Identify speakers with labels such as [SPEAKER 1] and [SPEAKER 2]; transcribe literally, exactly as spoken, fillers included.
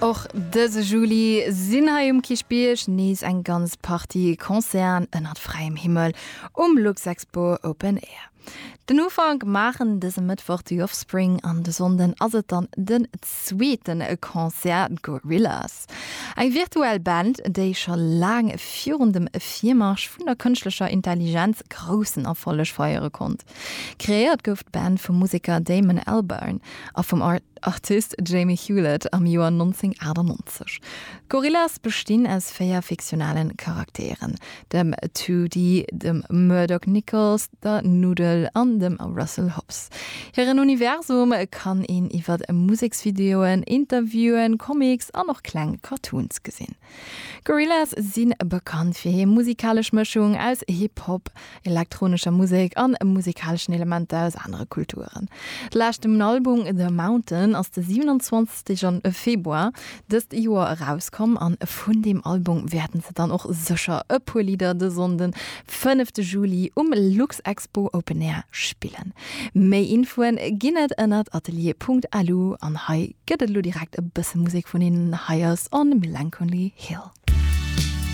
[SPEAKER 1] Och dëse Juli sinn hei um Kierchbierg nees eng ganz Partie Concerten ënnert fräiem Himmel um Luxexpo Open Air. Den Ufank maachen dëse Mëttwoch The Offspring an de Sonnden ass et dann den zweete Concert Gorillaz. Eng virtuell Band, déi scho laang virun dem Virmarsch vun der kënschtlecher Intelligenz groussen Erfolleg feiere konnt. Kreéiert gouf d'Band vum Museker Damon Albarn a vum Artist Jamie Hewlett am Joer nonzénghunnertaachtannegonzeg. Gorillaz bestinn aus véier fiktionalen Charakteren, dem Toody, dem Murdoc Niccals, der Noodle an dem Russel Hobbs. Hiren Universum kann een iwwer Museksvideoen, Interviewen, Comics an och kleng Cartoons gesinn. Gorillaz si bekannt fir hir musikalesch Mëschung aus Hip-Hop, elektronescher Musek an musikaleschen Elementer aus anere Kulturen. De leschten Album The Mountain ass de siwenanzwanzegste Februar dëst Joer erauskomm an vun deem Album wäerten se dann och sécher e puer Lidder de Sonnden fënnefte Juli um Luxexpo Open Air spillen. Méi Infoen ginn et ënnert atelier Punkt lu an hei gëtt et elo direkt e bësse Musek vun hinnen, hei ass On Melancholy Hill.